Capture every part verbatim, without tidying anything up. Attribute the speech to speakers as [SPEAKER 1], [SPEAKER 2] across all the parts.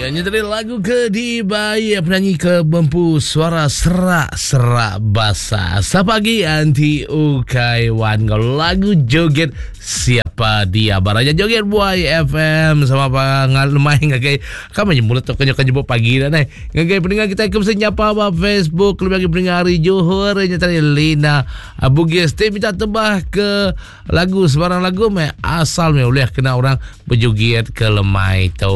[SPEAKER 1] Ini tadi lagu ke dibayar penyanyi ke bempu suara serak-serak basah. Siapa lagi anti ukai wan kalau lagu joget siapa dia baranya joget buai F M sama apa ngalmai ngagai kami mulut tu kenyo kenyo pagi dah nai. Ngagai pendengar kita ke mesti nyapa ba Facebook lebih lagi pendengar hari Johor nya tadi Lina Bugis ti minta tebah ke lagu sebarang lagu me asal me boleh kena orang berjoget ke lemai tu.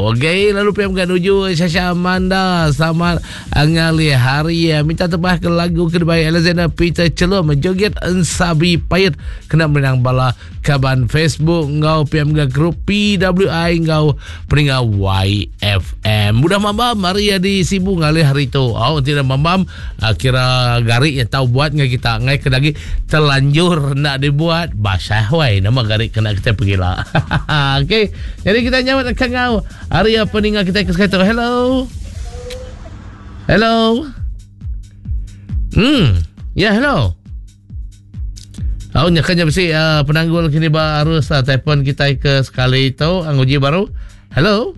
[SPEAKER 1] Okey, lalu P M kan nuju Syasha Amanda selamat ngalih hari minta tebah ke lagu ke dibayar Alexander Peter Celum joget ensabi payet kena menang bala kaban Facebook ngau P M G grup P W I ngau pendengar Y F M. Mudah mambam hari di Sibu ngalih hari tu. Oh tidak mambam kira garik yang tahu buat ngai kita ngai ke lagi terlanjur nak dibuat basah wai nama garik kena kita pergilah. Okey, jadi kita nyawat ke ngau hari apa pendengar kita ke sekali tu. Hello. Hello. Hmm. Ya, yeah, hello. Oh, nyakannya mesti uh, penanggul kini baru uh, telefon kita ke sekali itu anguji baru. Hello.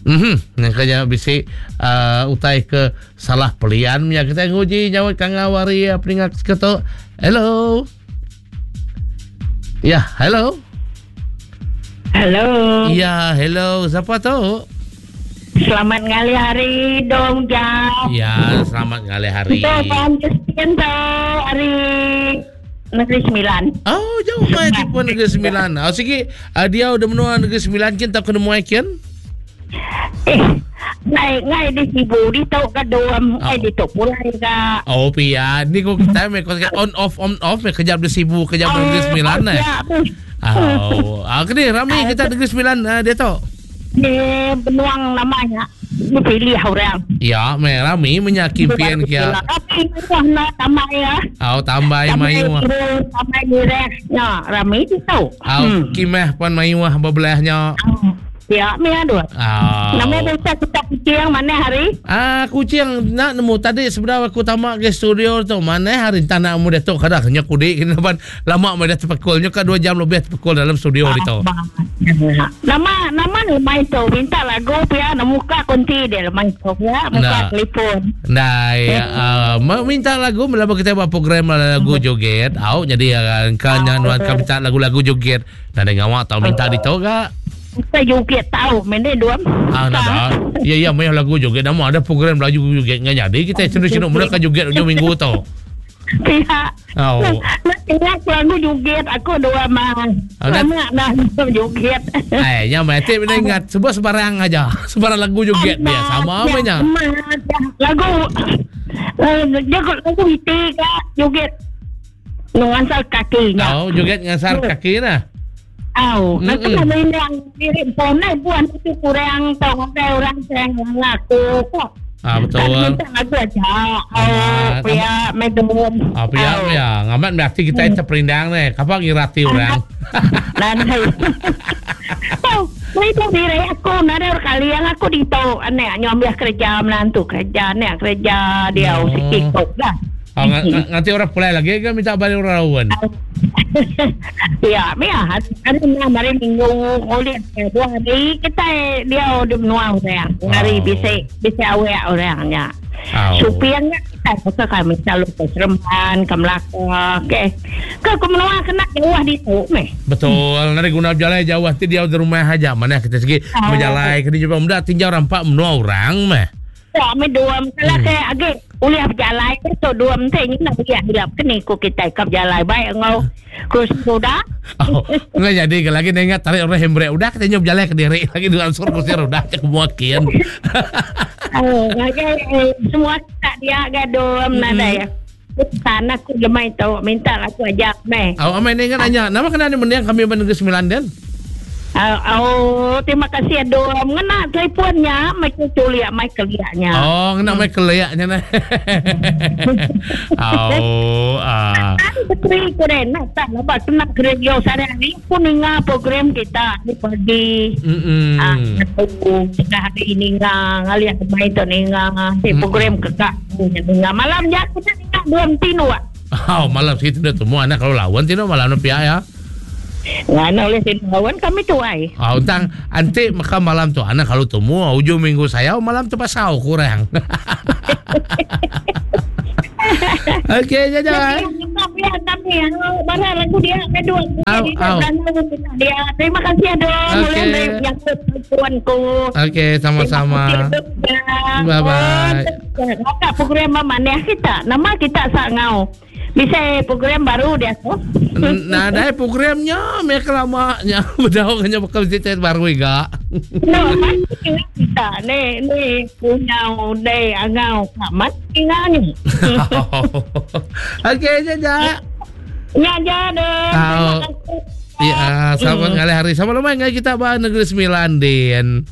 [SPEAKER 1] Mhm, nyakannya bisi uh, utai ke salah pelian nya kita nguji nyawa kangawari uh, pendengar seketu. Hello. Ya, yeah, hello.
[SPEAKER 2] Hello.
[SPEAKER 1] Ya, hello. Siapa tu?
[SPEAKER 2] Selamat ngalih hari dong jam.
[SPEAKER 1] Ya, selamat ngalih hari.
[SPEAKER 2] Kita Puan Justin tu hari Negeri Sembilan.
[SPEAKER 1] Oh, jauh mai tipu Negeri Sembilan. Oh, sigi uh, dia udah menua Negeri Sembilan kin tak kena muai kin?
[SPEAKER 2] Eh, ngai ngai di Sibu di tok ke dom, ngai di tok pulai ka.
[SPEAKER 1] Oh, pia. Ni ko kita me ko on off on off me kejap di Sibu, kejap di Negeri Sembilan eh. Oh, ah kini ramai kita Negeri Sembilan uh, dia tok.
[SPEAKER 2] Ni penuang namanya ni pilih orang.
[SPEAKER 1] Ya, me rami menyakin kia.
[SPEAKER 2] Tapi nak tambah ya.
[SPEAKER 1] Oh, tambah mayu.
[SPEAKER 2] Tambah direk. Ya, rami tu.
[SPEAKER 1] Oh, kimeh pun mayu berbelahnya.
[SPEAKER 2] Ya, me ada.
[SPEAKER 1] Oh.
[SPEAKER 2] Nama bisa kita kucing mana hari?
[SPEAKER 1] Ah, kucing nak nemu tadi sebenarnya aku tamak ke studio tu. Mana hari tak nak mu dah tu kadang nya kudik kena ban lama me dah terpekul nya ka dua jam lebih terpekul dalam studio ah, itu.
[SPEAKER 2] Nama nama lemai tu minta lagu pia nak muka kunti dia lemai tu ya, muka telefon.
[SPEAKER 1] Nah, ya, uh, minta lagu melama kita buat program lagu joget. Au jadi kan nyan kan minta lagu-lagu joget. Nah, dengan awak tau minta di tu gak?
[SPEAKER 2] Kita joget tahu, mana dua.
[SPEAKER 1] Ah, nada. Ya, ya, main lagu joget. Nama ada program lagu joget nggak jadi. Kita cenderung mereka joget ujung minggu tau.
[SPEAKER 2] Pihak.
[SPEAKER 1] Oh.
[SPEAKER 2] Nak ingat lagu joget aku dua mah. Lama dah joget.
[SPEAKER 1] Eh, yang mati bila ingat sebuah sebarang aja. Sebarang lagu joget dia sama apa nya.
[SPEAKER 2] Lagu joget lagu itu kak joget ngasar kakinya.
[SPEAKER 1] Oh, joget ngasar kaki nah.
[SPEAKER 2] Aw, nanti kami yang diri ponai buan itu kurang tahu orang yang ngaku kok.
[SPEAKER 1] Ah betul.
[SPEAKER 2] Minta lagu aja. Oh, pia medom.
[SPEAKER 1] Ah pia ya, ngamat berarti kita itu perindang nih. Kapan ngirati orang?
[SPEAKER 2] Nah, oh, itu diri aku nada kali yang aku dito aneh nyambil kerja menantu kerja aneh kerja dia sikit kok lah.
[SPEAKER 1] Oh, nanti orang pulai lagi kan minta balik orang lawan.
[SPEAKER 2] Ya, mia, hari hari minggu oleh dua hari kita dia di menua orang. Hari bisa bisa awak orangnya. Supirnya kita pasal kami selalu ke Seremban, ke Melaka, okey. Ke ke menua kena jauh di tu meh.
[SPEAKER 1] Betul, nanti guna berjalan jauh nanti dia di rumah aja. Mana kita segi berjalan kena jumpa muda tinjau rampak menua orang meh.
[SPEAKER 2] Ya, me dua misalnya hmm. Kayak agak boleh berjalan tu dua menteri ni nak pergi hilap kena ikut kita ikut berjalan baik ngau kursi roda.
[SPEAKER 1] Oh, enggak jadi lagi ingat tarik orang hembrek udah kita nyob jalan ke diri lagi dua ansur kursi roda cek muakin.
[SPEAKER 2] Oh, semua tak dia gaduh nada ya. Tanah aku lemai tu minta aku ajak meh.
[SPEAKER 1] Oh, amai ni kan nanya, nama kena ni mendiang kami Negeri Sembilan den.
[SPEAKER 2] Oh, oh, terima kasih aduh. Mengena teleponnya Michael Julia Michael liaknya.
[SPEAKER 1] Oh, ngena Michael liaknya nah. Oh, ah.
[SPEAKER 2] Betul keren nak tak lepas kena radio sehari pun ninga program kita ni pagi.
[SPEAKER 1] Mm-mm.
[SPEAKER 2] Ah, kita hari ini ninga ngaliat main tu ninga si program kekak ninga malam ya kita ninga dua tinu.
[SPEAKER 1] Oh, malam situ dah semua anak kalau lawan tinu malam pihak ya.
[SPEAKER 2] Ngana oleh kawan kami tuai.
[SPEAKER 1] Oh, tang anti maka malam tu anak kalau temu ujung minggu saya malam tu pasal kurang. Okey, jaja.
[SPEAKER 2] Barang lagu dia kedua. Dia terima kasih aduh.
[SPEAKER 1] Okey.
[SPEAKER 2] Tuanku.
[SPEAKER 1] Okey, sama-sama. Bye bye.
[SPEAKER 2] Kak program mana kita? Nama kita sangau. Bisa program baru dia tu.
[SPEAKER 1] Nah, ada programnya mereka lamanya. Bedau kena bakal cerita baru juga.
[SPEAKER 2] No, kita ni ni punya dai angau kamat ni.
[SPEAKER 1] Okey, jaja.
[SPEAKER 2] Ya, ja deh.
[SPEAKER 1] Ya, selamat ngalih hari. Sama lumayan kita bah Negeri Sembilan din.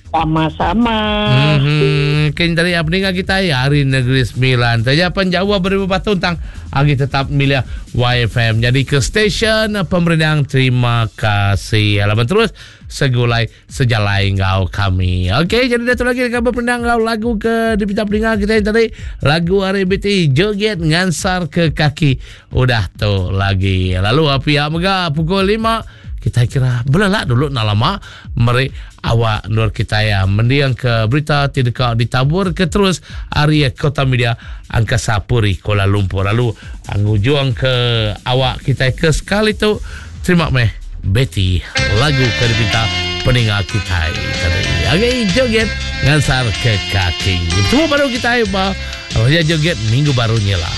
[SPEAKER 2] Sama-sama.
[SPEAKER 1] Mm-hmm. Kini tadi apa ni kita ya hari Negeri Sembilan. Saja penjawab beribu batu tentang agi tetap milih Y F M. Jadi ke stesen pemerintah terima kasih. Alaman terus segulai sejalai ngau kami. Okey, jadi datang lagi dengan pemerintah ngau lagu ke di pita peningan kita yang tadi lagu R B T joget ngansar ke kaki. Udah tu lagi. Lalu api ya mega pukul lima kita kira belelak dulu nak lama meri awak nur kita ya mendiang ke berita tidak ditabur ke terus area Kota Media Angkasa Puri Kuala Lumpur lalu angujuang ke awak kita ke sekali tu terima meh Betty lagu ke dipinta pendengar kita tadi. Okey, joget ngansar ke kaki. Temu baru kita ba joget minggu barunya lah.